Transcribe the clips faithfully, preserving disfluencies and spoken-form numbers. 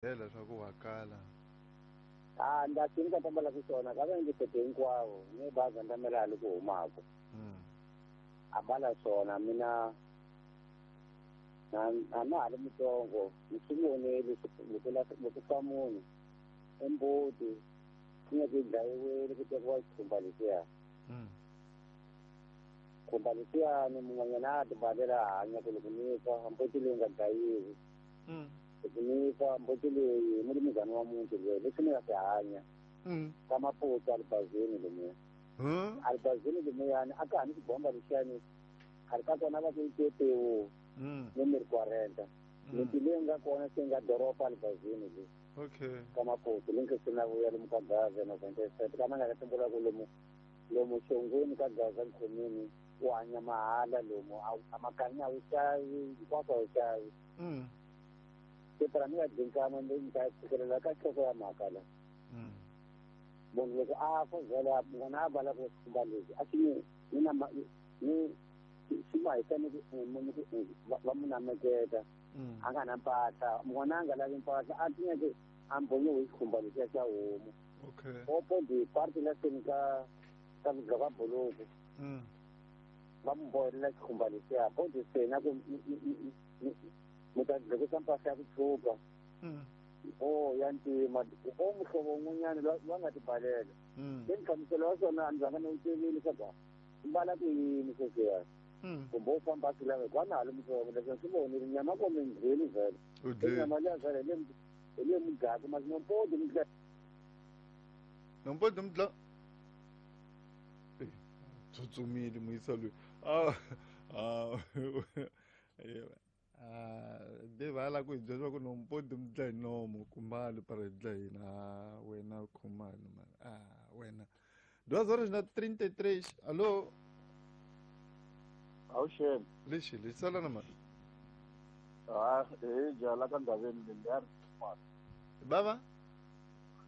Byela swa ku wa kala. A nda swi nga ta ku swona ka va ndzi fete hinkwavo ni baza ndamela loko humako. Mm. A bala swona mina na a na ha ri mutsongo ni swi vonile loko loko fa munhu embuti yi nga ku dlayiwile ku tekiwa xikhumba lexiya. Mm. Khumba lexiyani mun'wanyana a ti balela a hanya ku loko ni fa mbuti leyi nga dlayiwi. Mm. Loko ni fa mbuti leyi mulimizana wa muti loyi leswi ni nga swi hanya. Mm. Ka maputa alibazini lomuya. Huh? Alibazini lumuyani a ka ha ni xibomba lexiyani khale ka kona va ku yi tetewu. Mm. Ni mi ri quarenta. Miti leyi nga kona se nga doroba alibazini leyi. Okay. Ka maputa leyi nga sina vuya lomu ka Gaza na Venteset ka nga tumbula ku lomu lomu xongweni ka Gaza nkhomini u hanya mahala lomu a makanya wu xavi hinkwaswo a wu xavi. Mm. Se phela ni nga dinkama ni ni ta fikelela ka nhloko ya mhaka la. Mm. Munhu loko a fa vhele n'wana a bala ku xikhumba lexi a xi ni ni na ni xi ma hisa ni ku va mu nameketa. Mm. A nga na mpahla n'wana a nga lavi mpahla a tinyeke a mbonyiwe hi xikhumba lexiya xa homu. Okay. Opo di parti la seni ka ka ka buluku. Mm. Va mu bohelela xikhumba lexiya bodi se na ku mi ta dlekisa mpahla ya ku tshuka. Mm. O ya ntima o muhlovo wun'wanyana loyi a nga tibalela. Mm. Se nhlamuselo wa swona a ni zanga ni wu tivile leswaku u mbala ku yini sweswiya. Mm. Kumbe u famba a swi lava hikuva na ha ri mutsongo leswi ni swi vonile nyama ko mi ndlwini vhele. U dlile. Nyama liya vhele hi le hi le mudlaku masi nompodi mi dla. Nompodi mi dla. Eh, tsutsumile muyisa loyi. Ah, ah. Ah, de va la ku hi byela ku nompodi mi dla hi nomo kumali para hi dla hina. Ah, wena khumalo man. Ah, wena. Duas horas na trinta e três. Alô? Awuxeni. Lexi, lexi sala na mani. Ah, eh, jala ka ndhaveni leyi ya ri Bava?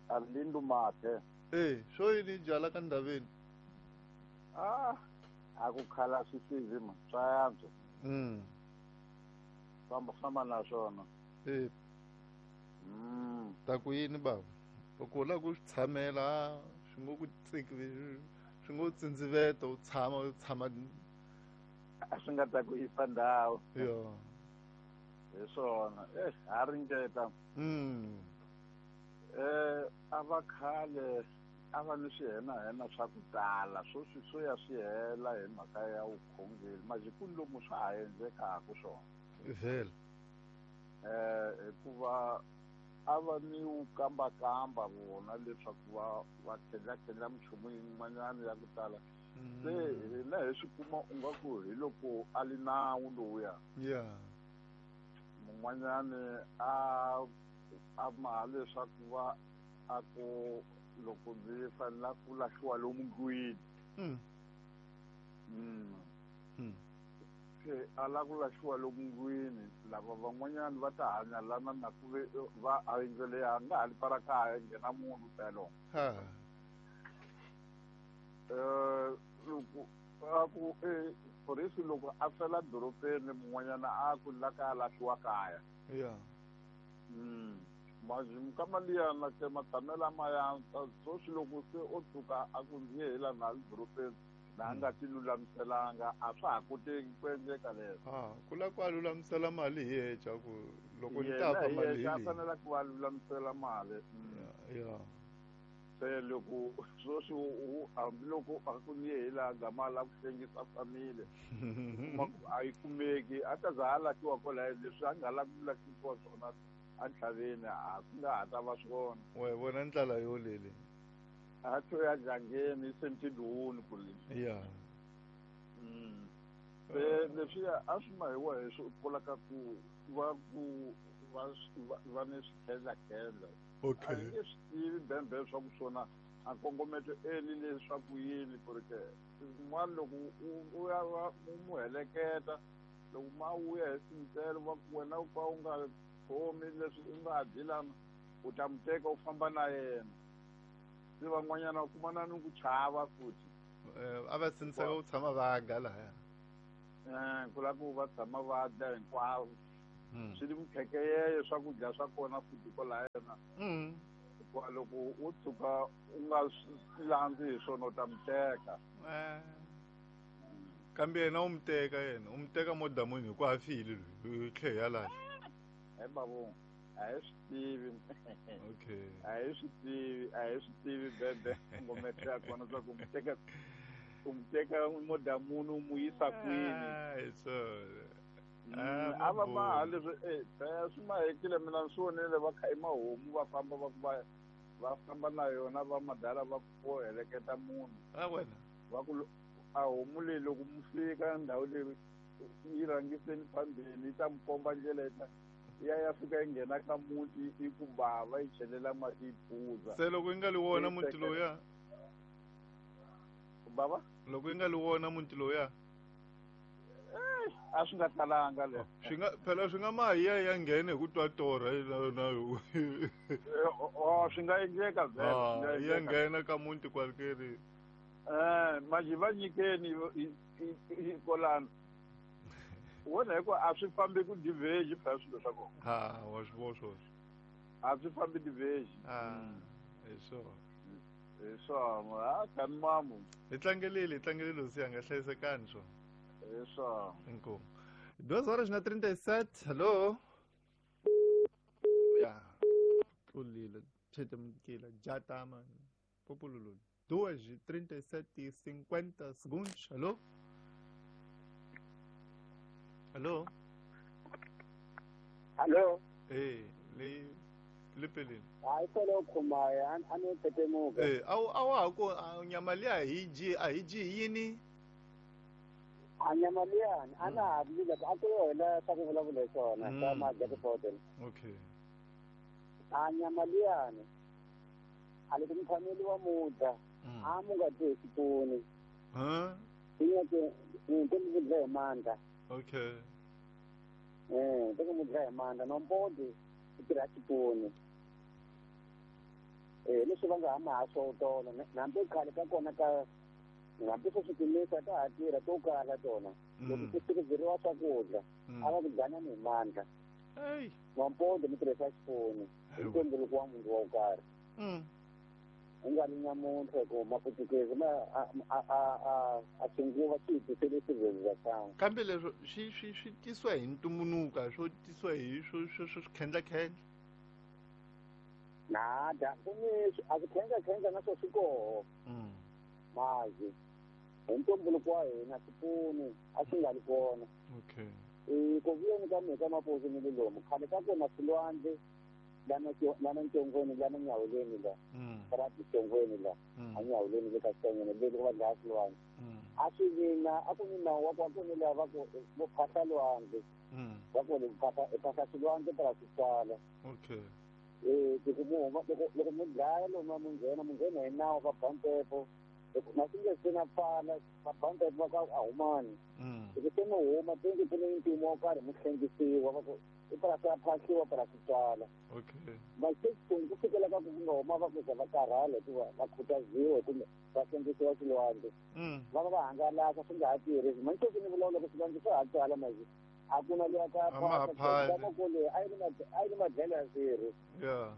Arlindo Mate. Eh, swo yini jala ka ndhaveni? Ah, a ku khala swisivi ma, swa yantswa. Mm. Famba famba na swona. Eh. Mm. Ta ku yini bava? Loko u lava ku swi tshamela, swi ngo ku tsiki, swi ngo tsindziveta u tshama u tshama a swi nga ta ku yisa ndhawu. Yo. Hi swona. Eh, ha ringeta. Mm. Eh, a va khale a va ni swihenahena swa ku tala sweswi swo ya swi hela hi mhaka ya vukhongeri majikuni lomu swa ha endlekaka swona. Vhele. Eh, hikuva a va ni wu kambakamba vona leswaku va va khendlakhendla minchumu yin'wanyana ya ku tala. Se hina hi swi kuma u nga ku hi loko a li nawu lowuya. Yeah. Mun'wanyani a a maha leswaku va a ku loko ndzi fanela ku lahliwa lomu ndlwini. Mm. Mm. Mm. Se a lava ku lahliwa lomu ndlwini lava van'wanyana va ta hanya lana na ku ve va a yindlu leyi a nga ha li para kaya nghena munhu phela. Ha. Eh, loko a ku eh phorisi loko a fela dorobeni mun'wanyana a ku la ka lahliwa kaya. Yeah. Mm. Majimu ka mali ya na ke matshamela ma ya sweswi loko se o tshuka a ku ndzi ye hi la na le dorobeni na nga ti lulamiselanga a swa ha koteki ku endleka leswo. Ah, ku lava ku a lulamisela mali hi yexe ku loko ni Yena ta fa hi mali hi yexe a leyi. fanele ku va lulamisela mali. Yeah, yeah. Se loko sweswi u hambiloko a ku ni ye hi laha gama la ku hlengisa family kuma ku a yi kumeki a ta za a lahliwa kwalaya leswi a nga lavi ku lahlisiwa swona entlhaveni a swi nga ha ta va swona. Wa yi vona ndlela yo lele. A to ya jangeni sentiduni ku le. Yeah. Mm. Se leswiya a swi ma hi wa hi swi vulaka ku va ku va va ni swikhendlakhendla. Okay. A hi nge swi tivi bembe swa ku swona a kongometo eli leswaku yini ku ri ke un'wana loko u u ya va u mu heleketa loko ma vuya hi sintelo va ku wena u ka u nga khomi leswi u nga dyi lana u ta mu teka u famba na yena. Se van'wanyana u kumana ni ku chava futhi. Eh, a va sindziseka ku tshama va ga lahaya. Eh, ku lava ku va tshama va dya hinkwavo. Swi ri mukhekeyeye swakudya swa kona futhi kwalaya na. Hikuva loko u tshuka u nga swi landzi hi swona u ta mi teka. Kambe yena u mi teka yena, u mi teka modamuni hikuva a file loyi, tlhe ya lahla. He babu, a hi swi tivi. Okay. A hi swi tivi, a hi swi tivi bebe ngomete ya kona swa ku mi teka u mi teka modamuni u mu yisa kwini. Hi swona. A va maha leswi eh swi mahekile mina ni swi vonile va kha i mahomu va famba va ku va va famba na yona va madala va ku heleketa munhu. A wena. Va ku a homu leyi loko mu fika ndhawu leyi yi rhangiseni phambili yi ta mi komba ndlela yi ta ya ya fika yi nghena ka muti yi ku bava yi chelela mati yi phuza. Se loko yi nga li wona muti lowuya? Bava? Loko yi nga li wona muti lowuya? A swi nga talanga le. Swi nga phela swi nga ma ya ya nghena hi ku twa torha na yo. Oh, swi nga endleka vhele, swi nga Ya endleka. nghena ka muti kwalekeri. Eh, manje va nyikeni hi kolana. Wona hi ku a swi fambi ku diverge phela swilo swa kona. Ha, wa swi vona swoswo. A swi fambi diverge. Ah, hi swona. Hi swona, ha kani mamu. Hi tlangelile, hi tlangelile hosi yanga, hlayisekani swona. Hi swona. Inkomu. Duas horas na trinta e sete. Hello. Ya. Tlulile. Chetemkile. Jatama. Popululu. Duas e trinta e sete e cinquenta segundos. Alô? Alô? Alô? Ei, le lepelini. Hayi solo khumaya, a ni tetemuka. Eh, awu awu ku nyama liya hi dyi, a hi dyi yini? A nyama liyani, a na ha ri a ku yona swa ku vulavula hi swona, swa ma-jackpot. Okay. A nyama liyani, a loko mi phameliwa mudya, a mu nga dyi hi xipunu. Huh? Ti ti mi dya hi mandla. Okay. Eh, ti mi dya hi mandla, nompodi yi tirha xipunu. Eh, leswi va nga ha maha swo tolo, hambi khale ka kona ka hambi swo swi timisa ta ha tirha to kala tona. Loko ku tirhiseriwa swakudya, a va ku dyanani hi mandla. Ey. Nompodi mi tirhisa xipunu, hi ntumbuluko wa munhu wo karhi. U nga ri nyamuntlha ku maputukezi ma a a a a xinguva xi hi tisele xivhezi xa. Kambe leswo swi swi swi tisiwa hi ntumbuluko, swo tisiwa hi swo swo swo khendla-khendla. Nada, ku ni a swi khendla-khendla na swo swi koho. Mazi hi ntumbuluko wa hina xipunu a xi nga ri kona. Okay. Eh, ku vuyeni ka mina ka mapuzu ni le lomu khale ka kona swilwandle lana lana ntongweni lana nyawuleni la. Ra tintongweni la. A nyawuleni le ka xitongweni le loko va dlaya swilwandle. A swi vina a ku ni nawu wa ku a ku ni lava ku vo phahla lwandle. Va ku ri phahla phahla swilwandle para swi tswala. Okay. Eh, ku mu loko loko mi dlaya lomu mi nghena mi nghena hi nawu va ba mpepo. Loko na swi nge se na pfala va ba mpepo va ka a humani. Loko se mi huma tenge ku ni mpimo wo karhi mi hlengisiwa va ku i purasi ya phahliwa para swi tswala. Okay. Mase ku fikela ka ku nga huma va ku za va karhala hikuva va khutaziwa kumbe va hlengisiwa swilwandle. Va va va hangalasa swi nga ha tirhi. Manje sweswi ni vulavula ku swilwandle swa ha tswala manje. A ku na luya ka phahla ko leyi a yi ri a yi ri madlelo ya swirho. Yeah.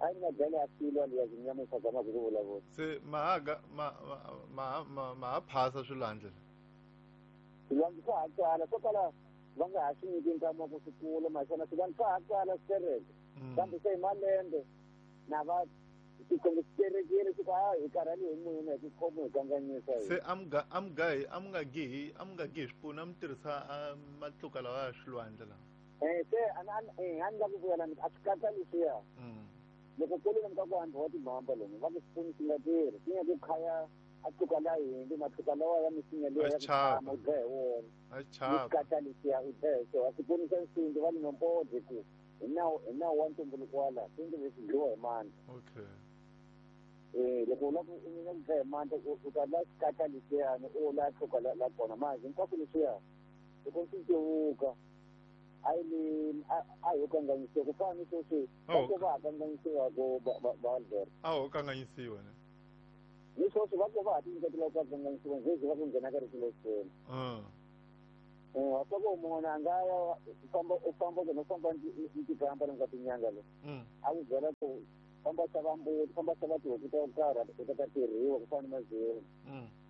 A yi ri madlelo ya swilo liya nyamuntlha zamaka ku vulavula. Se mahaga ma ma ma ma ha phasa swilwandle. Swilwandle swa ha tswala swo kala va nga ha swi nyiki nkama wa ku swi kula maswona swilwandle swa ha tswala swi tereke. Kambe se hi malembe na va swi terekile swi ku a hi karhale hi n'wina hi ku khomi hi kanganyisa. Se a mi nga a mi nga a mi nga gihi a mi nga gihi swipunu a mi tirhisa matluka lawa ya swilwandle lawa. Eh, se a ni a ni la ku vuya la a swi katsa leswiya. Loko ku ri ka ku handliwa timhamba lomu va ku xipunu xi nga tirhi xi nga ku khaya a tluka la hindzi matluka lawa ya misinya liya ya ku tshama u dlaya hi wona. A chava. Ni katsa leswiya u dlaya hi swona. Xipunu xa nsimbi va ni nompodi ku hi nawu hi nawu wa ntumbuluko wa laha swi leswi dliwa hi mandla. Okay. Eh, loko u lava ku u dlaya hi mandla u ta la xikatla leswiyani u la tluka la la kona manje hinkwaswo leswiya loko swi cevuka a yi le a ho kanganyisiwa ku fana ni sweswi va ko va ha kanganyisiwa ku va Albert. A ho kanganyisiwa ne. Ni sweswi va ko va ha tinyiketela ku kanganyisiwa njhe va ku nghena ka rito lexikulu. Eh soko munhu a nga ya u famba u famba ku no famba ntikamba loko tinyanga le. A ku byela ku famba xava mbuti, famba xava tihuku to karhi u ta ta tirhiwa ku fana na mazulu.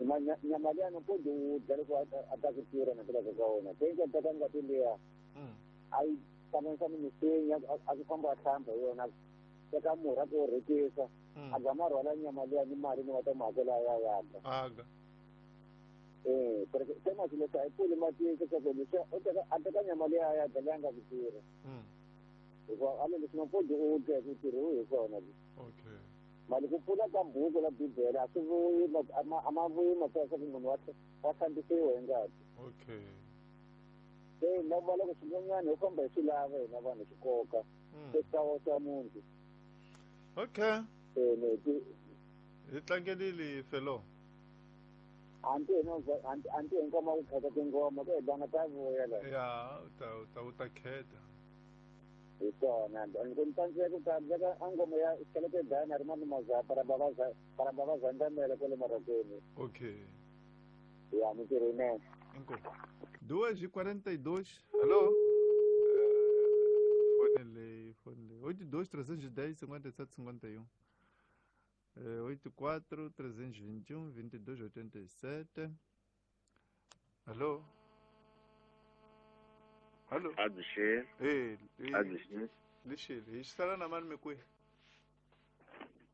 Ma nyama liya no kodi u dya loko a ta ku tirha na teka ka wena. Tenge ta ka ngati liya. A yi hlanganisa ni misinya a ku famba a hlamba hi yona. Teka murhi a ku rhekisa. A gama rhwala nyama liya ni mali ni va ta mu hakela ya ya. Aga. Eh, porque tema si lo sabe puli mati que se lo o teka a teka nyama liya ya dya leyi nga ku tirha. Hikuva a leswi nga kodi u dya ku tirhiwi hi swona. Okay. Mali ku pfula ka buku la Bibele a swi vuyi a ma vuyi mhaka ya ku munhu wa wa hlambisiwa hi ngati. Okay. Se na va loko swin'wanyana hi famba hi swi lava hina vanhu swi koka. Se swa swa munhu. Okay. Eh ne hi tlangelile felo. Anti no anti anti ngoma ku khetha tingoma ku edana ta vuya la. Ya, u ta u ta u ta khetha. Hi swona ni tsandzeka ku tsandzeka a ngoma ya xikeleke dana ri mani maza para baba za para baba zandamela kwale marakeni. Okay. Ya mintirho yinene. Inkomu. Duas e quarenta e dois. Alô? Fone lei, fone lei. oito dois, trezentos e dez, cinquenta e sete, cinquenta e um. oito quatro, trezentos e vinte e um, vinte e dois, oitenta e sete. Alô? Alô? Aduxê. Ei, Aduxê. Lixile, xisala na mani mikwi?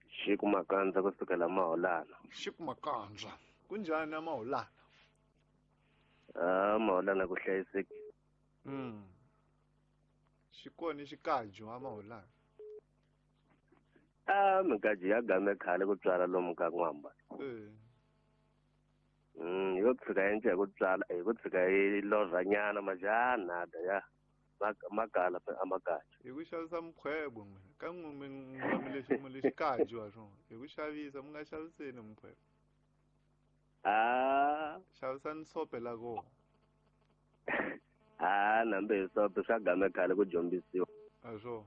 Xiku Makandza kusukela Maholana. Xiku Makandza. Kunjhani a Maholana? Ah, Maholana ku hlayisekile. Mm. Xikoni xikaju a Maholana. Ah, mikaji ya game khale ku tswala lomu ka n'wamba. Eh. Mm, yo tshika endla hi ku tswala, hi ku tshika yi lovhanyana majana da ya makala a makaji. Hi ku xavisa mukhwebo n'wina, ka n'we mi mi lexi mi lexi kaju wa swona. Hi ku xavisa mi nga xaviseni mukhwebo. Ah, xavisani sope la kona. Ah, nambe hi sope swa game khale ku dyombisiwa. A swona.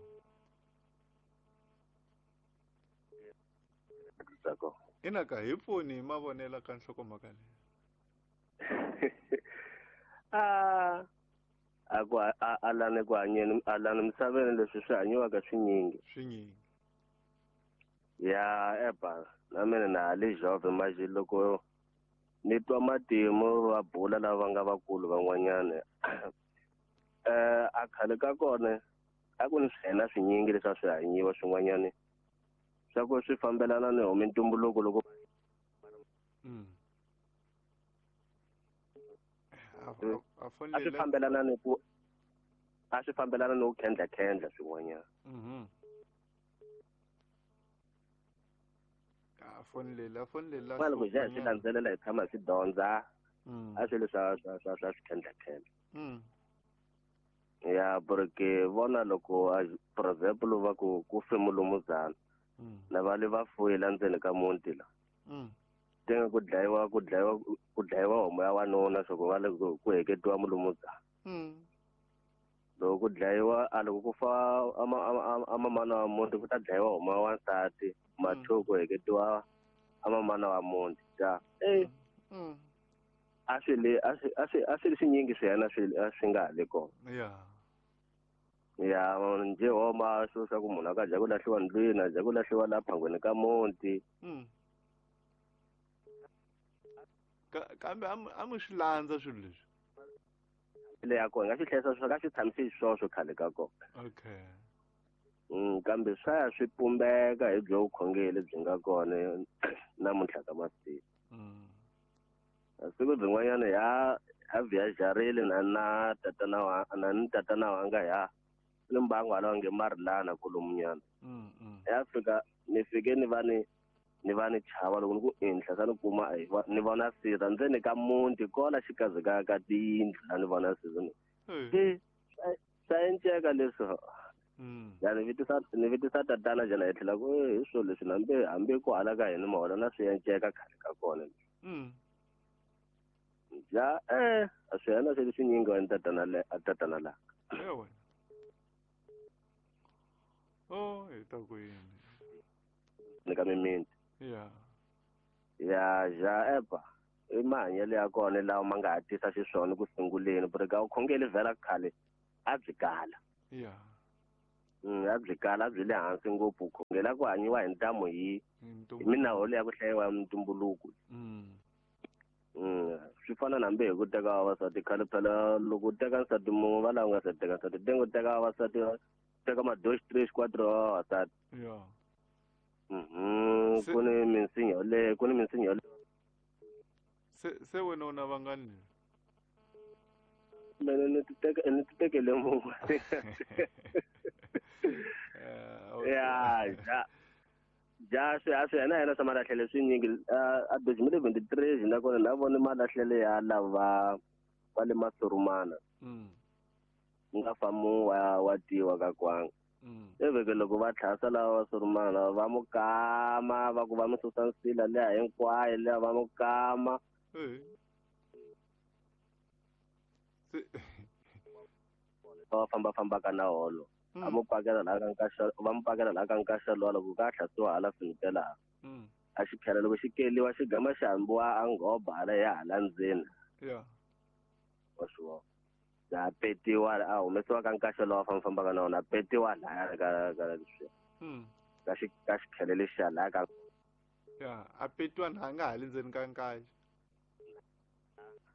Ina ka hi pfuni hi mavonelo ka nhlokomhaka leyi. Ah, a ku a lani ku hanyeni a lani misaveni leswi swi hanyiwaka swinyingi. Swinyingi. Ya eba na mina na ha le jove manje loko ni twa matimu va bula lava nga vakulu van'wanyana. Eh a khale ka kona a ku ni swihena swinyingi leswi a swi hanyiwa swin'wanyana. Swa ku swi fambelana ni homi ntumbuluko loko mm. A swi fambelana ni ku a swi fambelana ni ku khendla khendla swin'wanyana. Mhm. A fonile a fonile la. Loko hi swi landzelela hi tshama hi swi dyondza a swilo swa swa swa swa swi khendla khendla. Mm. Ya porque vona loko for example va ku ku fe mulumuzana. Na va le va fuyela ndzeni ka muti la. Mm. Tenge ku dlayiwa ku dlayiwa ku dlayiwa homu ya wanuna swa ku va le ku heketiwa mulumuzana. Mm. Loko ku dlayiwa a loko ku fa a mamana wa muti ku ta dlayiwa homu ya wansati mathu ku heketiwa a mamana wa muti. Ja. Eh. Mm. A swi le a swi a swi a swi swinyingi swiyana swi a swi nga ha le kona. Yeah. Ya nje homa swo swa ku munhu a ka dya ku lahliwa ndlwini a dya ku lahliwa laha phangweni ka muti. Mm. Kambe a mi swi landza swilo leswi. Le ya kona nga swi hlayisa swi ka swi tshamisi swoswo khale ka kona. Okay. Mm, kambe swa ya swi pumbeka hi byo vukhongeri byi nga kona namuntlha ka masiku. Mm. Siku byin'wanyana ya ya viajarile na na tatana wa na ni tatana wanga ya ni mbangu hala nge marilana kolomunyana. Mm, mm. Ya fika ni fike ni va ni ni va ni chava loko ni ku enhla sa ni kuma ni vona sirha ndzeni ka muti kola xikazi ka ka tiyindlu la ni vona sirha ni. Eh. Swa enceka leswi. Mm. Ya ni vitisa ni vitisa tatana jana hi tlhela ku hi swilo leswi nambe hambi ku hala ka hina mahola na swi enceka khale ka kona. Mm. Ja eh a swi hena swi swinyingi wa tatana le a tatana la. Ewe. Oh, hi ta ku yini. Ni ka mimiti. Yeah. Ya ja eba. I mahanyelo ya kona lawa ma nga ha tisa xiswona ku sunguleni ku ri ka vukhongeri vhela khale a byi kala. Yeah. Mm, a byi kala, a byi le hansi ngopfu. Khongela ku hanyiwa hi ntamu hi hi minawu leyi ya ku hlayiwa ya mintumbuluko. Mm. Mm, swi fana na hambi hi ku teka vavasati khale phela loko u teka nsati mun'we va lava u nga se teka nsati tenge u teka vavasati teka ma dos tres quatro wa vavasati. Yeah. Mhm, Se- ku ni minsinya yoleyo, ku ni minsinya yoleyo. Se se wena u na vangani? Mina ni ti teka ni ti tekele mun'we. Eh, okay. Ya, ja. Ja swi a swi yena yena swa malahlele swinyingi a dois mil vinte e três nakona na vona malahlele ya lava va le Masurumana. Mm. Ku nga fa mun'we wa wa tiwa ka kwanga. Mm. Eveke loko va tlhasa lava va Surumana va mu kama va ku va mu susa nsila liya hinkwayo liya va mu kama. Eh. Se Va famba fambaka na holo. A Mm. mu pakela laha ka nkaxa va mu pakela laha ka nkaxa luwa loko ka hlasiwa hala finitela. Mm. A xi khela loko xi keliwa xi gama xi hambiwa a nghoba hala ya hala ndzeni. Yeah. Wa swi vona. Ya petiwa a humesiwa ka nkaxa lowa famba fambaka na wona a petiwa lahaya ka ka leswiya. Mm. Ka xi ka xikhele lexiya lahaya ka Yeah, a petiwa na nga ha le ndzeni ka nkaxa.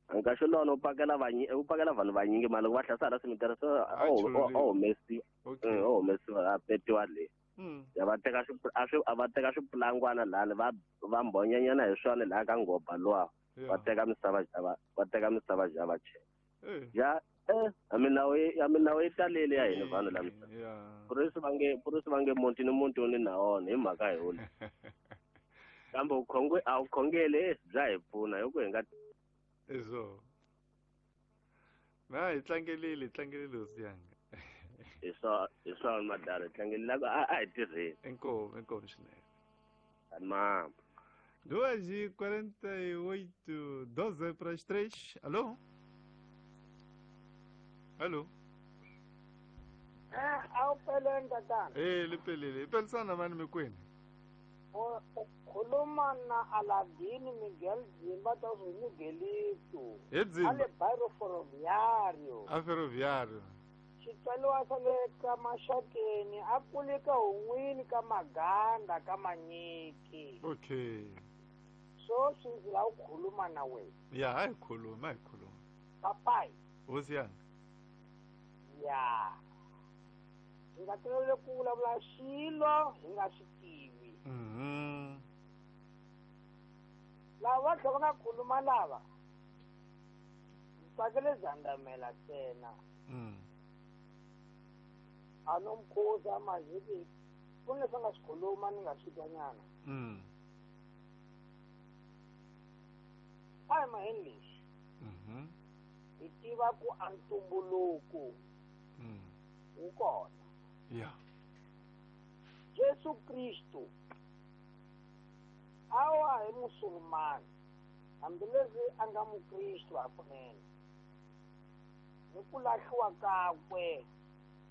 Nkaxa luwa u pakela vanyi u pakela vanhu vanyingi mara loko va hlasa hala cemetery so A a hu- chululiwa. a humesiwa. Okay. Mm, a humesiwa a petiwa le. Mm. Ya va teka swi a swi a va teka swipulangwana lahani va va mbhonyanyana hi swona laha ka nghoba luwa. Yeah. Va teka misava ja va va teka misava ja va chela. Eh. Ja eh a minawu yi a minawu yi talele ya hina vanhu la misava. Yeah. Purisi va nge purisi va nge muti ni muti wu ni na wona hi mhaka hi wona. Kambe vukhonge a vukhongeli eh, bya hi pfuna hi ku hi nga Eso. Na hi tlangelile, hi tlangelile hosi yanga. hi swa hi swona madala hi tlangelile a a hi tirheni. Inkomu, inkomu swinene. Mama. Duas e quarenta e oito, doze para as três. Alô? Alô? Eh, a wu peleni tatana. Eh, li pelele. Pelisana mani mikwini. U khuluma na Aladini Miguel Dzimba ta swi Miguelito. He A Dzimba. le Bairro Ferroviário. A Ferroviário. Xitswaliwa xa le ka Maxakeni a kule ka hun'wini ka Maganda ka Manyiki. Okay. Sweswi ndzi lava ku khuluma na wena. Ya, a hi khuluma, a hi khuluma. Papai. Hosi yanga. Ya. Hi nga toloveli ku vulavula xilo hi nga xi tivi. Mhm. Lava va tlhela va nga khuluma lava ndzi tsakele Zandamela ntsena. Mm. A no mukhuza maziki ku ni leswi a nga swi khuluma ni nga swi twanyana. Mm. A hi maheni leswi. Mhm. Hi tiva ku a ntumbuluko Mm. wu kona. Yeah. Jesu Kristu a wa hi musulumani hambileswi a nga mukristu hakunene. Hi ku lahliwa kakwe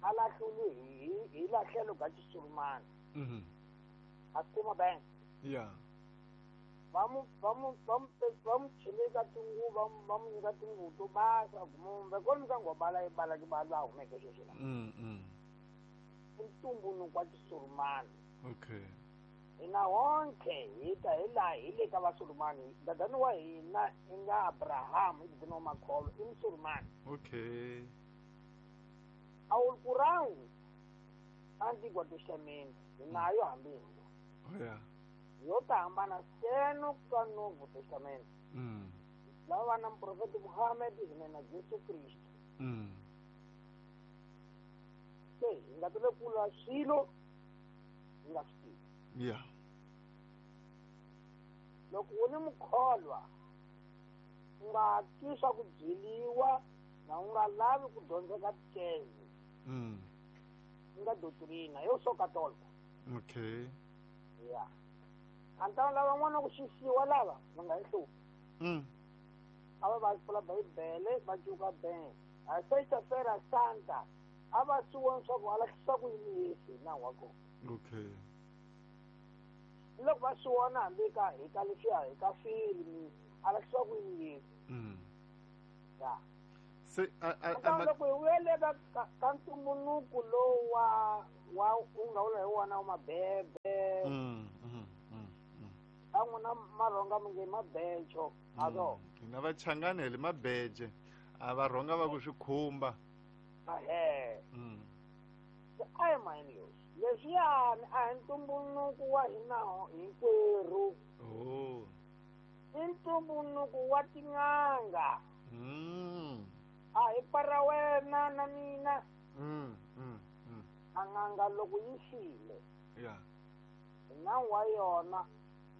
a lahliwile hi, hi lahlelo ga xisulumani. Mhm. A kuma bank. Yeah. Va mu, va mu, va mu, va mu cheleka tinguvu, va mu, va mu nyika tinguvu to basa, kumbe kwalomu ka ngobala yi bala ki ba laha humeke sweswi la. Mm, mm. I ntumbuluko wa xisulumani. Okay. Hina honke hi ta hi laha hi le ka vasulumani. Dadani wa hina i nga Abraham, i dadani wa Makholo, i musulumani. Okay. Alquran, Antigo Testamento, hi nayo hambi hi. Oh yeah. Yo ta hambana seno ka Novo Testamento. Mm. Lava va na muprofeta Muhammad hi na Jesu Kristu. Mm. Se hi nga tole kula swilo hi nga swi tivi. Yeah. Loko u ni mukholwa u nga twi swa ku byeliwa na u nga lavi ku dyondzeka tikeze. Mm. U nga doctrina yo swo katolika. Okay. Yeah. A ni ta lava n'wana ku xisiwa lava va nga yi hluphi. Mm. A va va pfula Bibele va cuka bank. A sexta-feira santa a va swi voni swa ku a lahlisa ku yini Yesu hi nawu wa kona. Okay. Loko va swi vona hambi ka hi ka leswiya hi ka filimi A lahlisiwa ku yini? Mm. Ya. Se a a loko hi vuyele ka ka ntumbuluko lowu wa wa u nga vula hi wona wa mabebe. Mm. Mm. Mm. Ka n'wina marhonga mi nge mabejo. Alo. Hina vachangani hi le mabeje. A va rhonga va ku swi khumba. Ahe. Mm. A hi mayini leswi. Leswiyani a hi ntumbuluko wa hina hinkwerhu. Oh. I ntumbuluko wa tin'anga. Mm. A hi para wena na mina. Mm. Mm. Mm. A n'anga loko yi file. Yeah. Nawu wa yona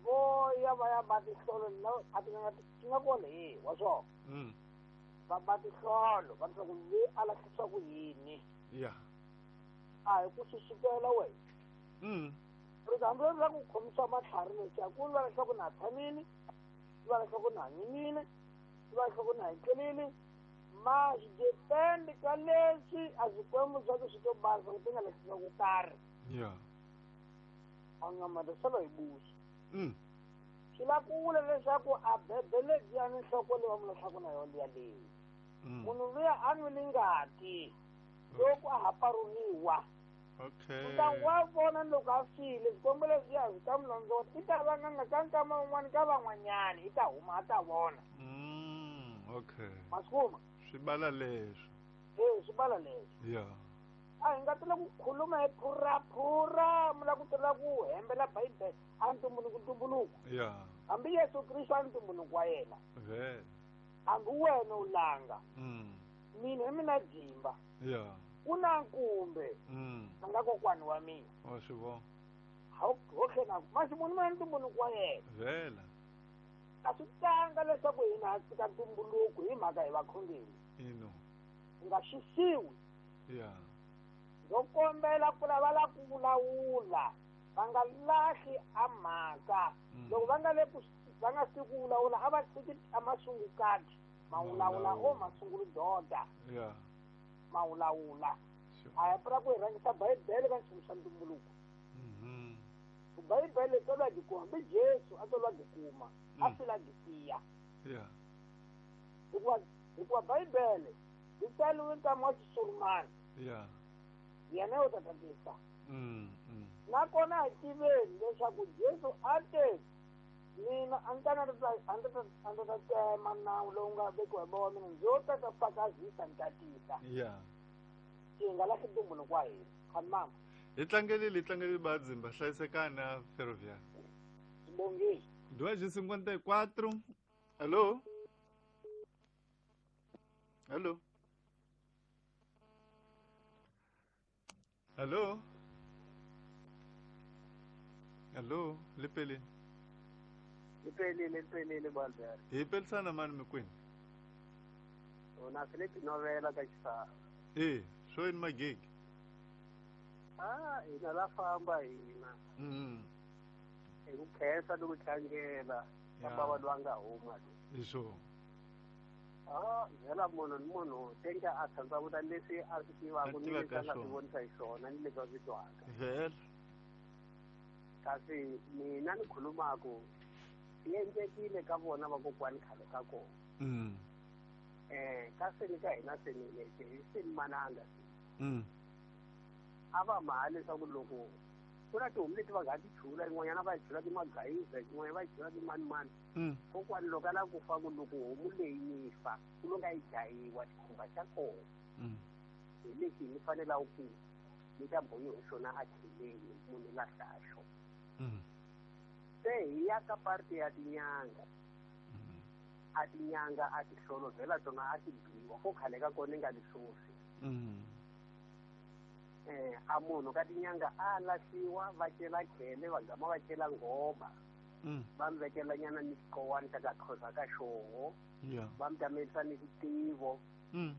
vo ya va ya ba tihlolo na a tin'anga ti nga kona hi wa swona. Mm. Va ba tihlolo va leswaku loyi a lahlisiwa ku yini. Yeah. A hi ku susukela wena. Mm. Ri hambi ra ku khomisa matlhari leswi ku vula leswaku na tshamile, ku vula leswaku na hanyile, ku vula leswaku na hetlelile, ma swi depend ka leswi a swikwembu swa ku swi to basa ku ti nga lahlisiwa ku karhi. Yeah. A nga ma solo hi busi. Mm. Swi lava ku vula leswaku a bebe lebyiya ni nhloko leyi va mu lahlaku na yona liya leyi. Munhu luya a nwile ngati loko a ha paruriwa. Okay. Kutani wa vona loko a file swikwembu leswiya swi ta n'wi londzota i ta va n'anga ka nkama wun'wani ka van'wanyani i ta huma a ta vona. Mm, okay. Ma swi kuma? Swi bala leswo. E swi bala leswo. Yeah. A hi nga tela ku khuluma hi phuraphura mi lava ku tela ku hembela Bibele a ntumbuluko ntumbuluko. Yeah. Hambi Yesu Kristo a ntumbuluko wa yena. Vele. Hambi wena u langa. Mm. Mina hi mina Jimba. Yeah. Ku na nkumbe. Mm. A nga kokwani wa mina. Wa swi vona. Ho tlhela masi munhu ma ntumbuluko wa yena. Vele. A swi tanga leswaku hina ha tshika ntumbuluko hi mhaka hi vakhongeri. Ino. Hi nga xisiwi. Yeah. Ndzo kombela ku lava la ku vulavula va nga lahli a mhaka. Loko va nga le ku va nga swi ku vulavula a va tshiki a masungukati ma vulavula o masungulu doda. Yeah. Ma vulavula. A hi pfuna ku hi rhangisa Bibele ka nchumu xa ntumbuluko. Mhm. Bibele tolwa dyi kuma hambi Jesu a tolwa dyi kuma a fila dyi tiya. Yeah. Hikuva hikuva Bibele yi tsariwe nkama wa Xisurumani. Yeah. Yena u ta tatisa. Mm. Mm. Nakona hi tiveni leswaku Jesu a te mina a ni ta a ndzi ta a ndzi ta tsema nawu lowu nga vekiwa hi bava mina ndzo ta ta fakazisa ni tatisa. Yeah. Hi nga lahli ntumbuluko wa hina. Khani mama. Hi tlangelile hi tlangelile Badzimba hlayisekani na Ferroviária. Bongile. Duas e cinquenta e quatro. Alô? Alô? Alô? Alô, Lipelini. Lipelini, Lipelini Balbert. Hi pelisana mani mikwini? Una Felipe novela ka xisana. Eh, swo yini magigi? Ah, hina la famba hina. Mm. Hi ku khensa ni ku tlangela ka bava loyi a nga huma. Hi swona. Ah, vhela munhu ni munhu tenga a tshandza leswi a swi tivaka ni leswi a nga swi vonisa hi swona ni leswi a swi twaka. Vhela. Kasi mina ni khulumaku swi endlekile ka vona vakokwani khale ka kona. Mm. Eh, kasi ni ka hina se ni lexi hi se ni mananga. Mm. A va maha leswaku loko ku na tihomu leti va nga ti chula yin'wanyana va yi chula timagayiza yin'wanyana va yi chula timanimani. Mm. Kokwani loko a lava ku fa ku loko homu leyi yi fa ku lo nga yi dlayiwa xikhumba xa kona. Mm. Hi lexi ni fanelaka ku ni ta bohiwa hi xona a kheleni munhu lahla xona. Mm. Se hi ya ka parte ya tinyanga. Mm. A tinyanga a ti hlolovhela tona a ti biwa ko khale ka kona nga liswosi. Mm. Eh, a munhu ka tinyanga a lahliwa va cela khele va gama va cela nghoma. Mm. Va mi vekela nyana ni xikowani xa ka khoza ka xoho. Yeah. Va mi tamelisa ni xitivo. Mm.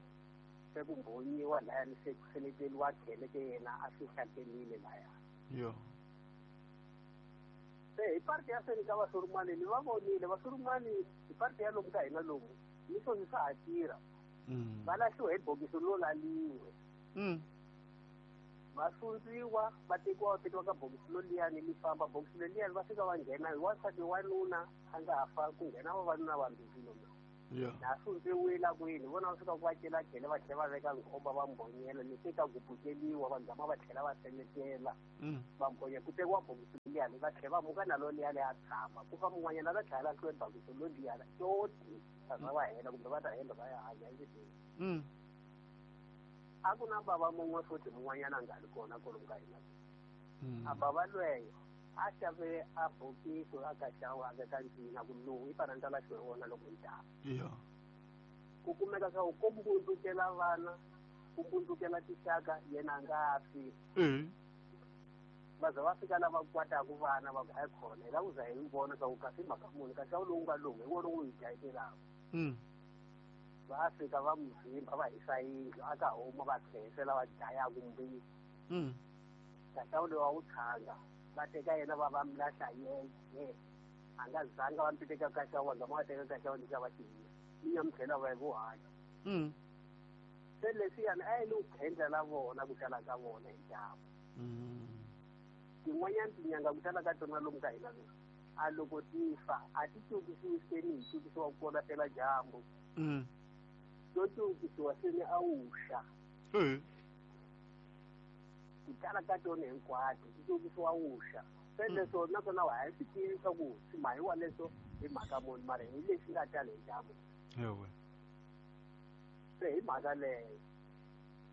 Se ku mbhonyiwa laya ni se ku seleteriwa khele ke yena a swi hlakelile laya. Yeah. Se hi parte ya seni ka vasurumani ni va vonile vasurumani hi parte ya lomu ka hina lomu ni swo swi swa ha tirha. Mm. Va lahliwa hi bokisi lo laliwe. Mm. Va sundziwa va tekiwa va tekiwa ka bokisi loliyani li famba bokisi leliyani va fika va nghena hi wansati wanuna a nga fa ku nghena vavanuna vambirhi lomu. Yeah. Na sundziwile kwini vona va fika ku va cela khele va tlhela va veka nkhomba va mbonyela leswi ka gubukeliwa va gama va tlhela va seletela Mm. va mbonya ku tekiwa bokisi leliyani va tlhela va muka na loliyani a tshama ku fa mun'wanyana va tlhela lahliwe bokisi loliyani toti va za va hela kumbe va ta hela va ya hanya endleleni. Mm. A ku na bava mun'we futhi mun'wanyana a nga ri kona kwalomu ka hina. Mm. A bava lweyo a xave a bokisi a ka xava a veka ncina ku lowu i fanele ni ta lahliwe wona loko ni ta. Yeah. Ku kumeka swa ku ko mbundzukela vana ku mbundzukela tixaka yena a nga fi. Eh. Va za va fika lava kwataku vana va ku hayi khona hi lava ku za hi vona swa ku kasi mhaka muni kasi a wu lowu nga lowu hi wona wu hi dlayetelaka. Mm. Va fika va n'wi vhimba va hisa yindlu a ka huma va tlherisela va dlayaku mbisi. Mm. Kasi a wu lowu a wu tshanga va teka yena va va mi lahla yeye a nga zanga va mi teka ka xa wona va teka ka xa wona xa va xiyisa mi ya mi tlhela va hi vuhanya. Mm. Se leswiyani a yi le ku khendla la vona ku tala ka vona hi dyambu. Mm. Tin'wanyani tinyanga ku tala ka tona lomu ka hina lomu a loko ti fa a ti cukisiwi seni hi cukisiwa kona pela dyambu. Mm. To cukisiwa seni a wuxa. Eh. Ku tala ka tona hinkwato ti cukisiwa wuxa. Se leswo naswona wa ha swi tivi swa ku swi mahiwa leswo hi mhaka muni mara hi leswi nga tala hi dyambu. Ewe. Se hi mhaka leyo.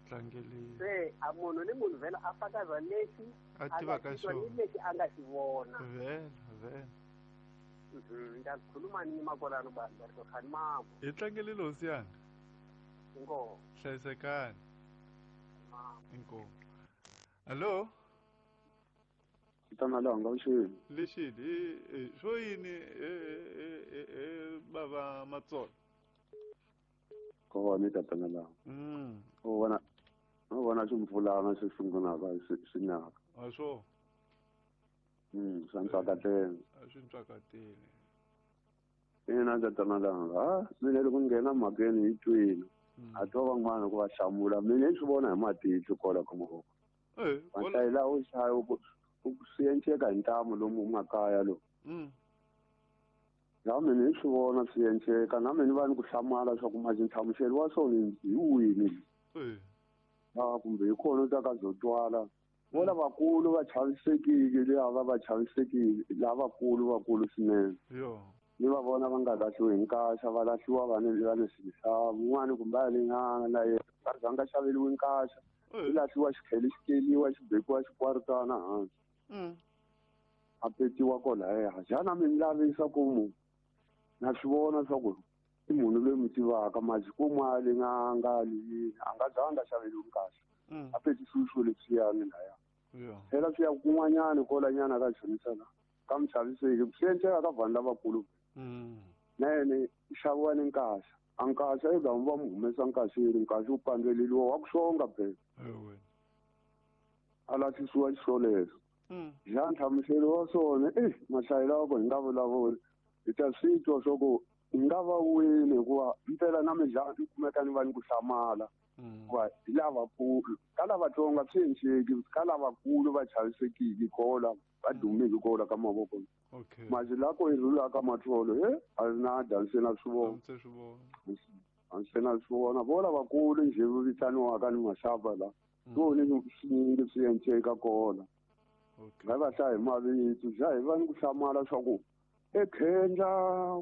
Tlangeli. Se a munhu ni munhu vhela a fakaza lexi A a nga tivaka xi twa ni xona. lexi a nga xi vona. Vhela, vhela. Mhm, ndza khuluma ni makolano vanhu va ri khani mambo. Hi tlangelile hosi yanga. Inkomu. Hlayisekani. Mambo. Inkomu. Allo? Tana langa vuxeni. Lexi hi swo yini e e e bava Matsolo? Kona tatana langa. Mm. U vona u vona ximpfulana xi sungulaka xi xi naka. A swo. Mm, swa ntswakatela. A swi ntswakateli. Ina tatana langa. Ha, mina loko ni nghena mhakeni hi twile. A twa van'wana ku va hlamula mina ni swi vona hi matihlo kwala ka mavoko. Eh, Va hlayela u xaya ku swi enceka hi ntamu lomu makaya lowu. Mm. Na mina ni swi vona swi enceka na mina va ni ku hlamala swa ku maji nhlamuselo wa swona hi wini. Eh. Ah, kumbe hi kona u ta ka byo twala. Vo lavakulu va chavisekile lava va chavisekile lavakulu vakulu swinene. Yo. Ni va vona va nga lahliwi hi nkaxa va lahliwa va ni va ni swilo un'wana kumbe a le n'anga na yena a zanga xaveriwi nkaxa. Eh. Xi lahliwa xi tlhela xi keliwa xi bekiwa xikwaritana hansi. Mm. A petiwa kwalaya. Xana mi ni lavisa ku mu na swi vona swa ku i munhu loyi mi tivaka maji ku n'wa le n'anga yini a nga zanga xaveriwi nkaxa. Mm. A petisiwi swilo leswiyani laya. Yo. Phela swi ya kun'wanyana kwalanyana ka chonisa la ka muchaviseki swi enceka ka vanhu lavakulu. Mm. Na yena i xaviwa ni nkaxa. A nkaxa i gamu va mu humesa nkaxeni nkaxa wu pandzeleliwa wa ku xonga phela. Ewe. A lahlisiwa xiswoleswo. Mm. Xa nhlamuselo wa swona eh mahlayelo wa ku hi nga vulavuli hi ta swi twa swa ku hi nga va wini hikuva mpela na mina ni kumeka ni va ni ku hlamala. Mm. Hikuva hi lavakulu ka lavatsongo swi enceki ka lavakulu va chavisekile kola va dumile kola ka mavoko. Okay. Maji lako hi rhula ka matholo he a na dya se na swi vona. Se swi vona. A se na swi vona vo lavakulu njhe va vitaniwaka ni maxava la. Swona swi swi enceka kona. Okay. Nga va hlaya hi mavito xa hi va ni ku hlamala swa ku ekhendla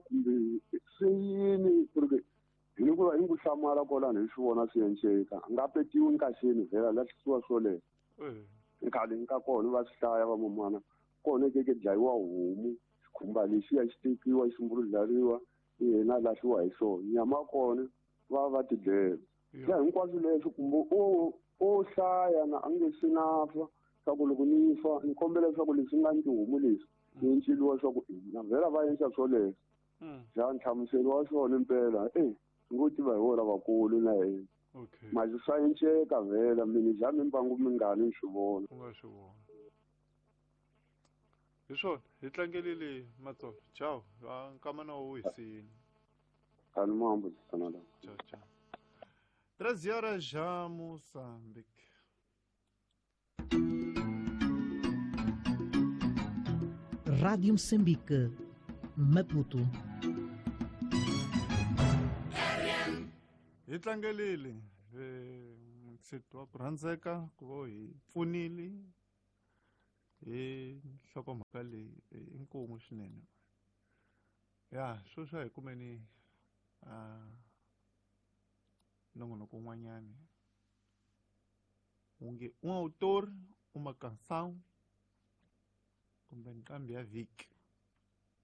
kumbe swi yini ku ri hi ni ku va ni ku hlamala kwalano hi swi vona swi enceka. A nga petiwi nkaxeni vhela lahlisiwa swoleswo. Eh. Nkhale ka kona va swi hlaya vamamana kona ke ke dlayiwa homu xikhumba lexiya xi tekiwa xi mbuludlariwa yena lahliwa hi xona nyama ya kona va va ti dlela. Ya hinkwaswo leswi kumbe o o hlaya na a nge swi na fa swa ku loko ni fa ni kombela leswaku leswi nga ni tihomu leswi ni enceliwa swa ku na vhela va endla swoleswo. Mm. Xa nhlamuselo wa swona impela eh swi ngo tiva hi wona lavakulu na yena. Okay. Maji swa enceka vhela mina ja mimbangu mingani ni swi vona. U nga swi vona. Hi swona hi tlangelile Matsolo. Ciao. Nkama na wu hisini. Kani mambo tsana la. Ciao, ciao. Treze horas já, Moçambique. Rádio Moçambique, Maputo. Hi tlangelile mutsheti wa ku rhandzeka ku va hi pfunile hi nhlokomhaka leyi inkomu swinene. Ya sweswi a hi kumeni nongonoko wun'wanyani wu nge um autor uma canção kumbe nqambi ya vhiki.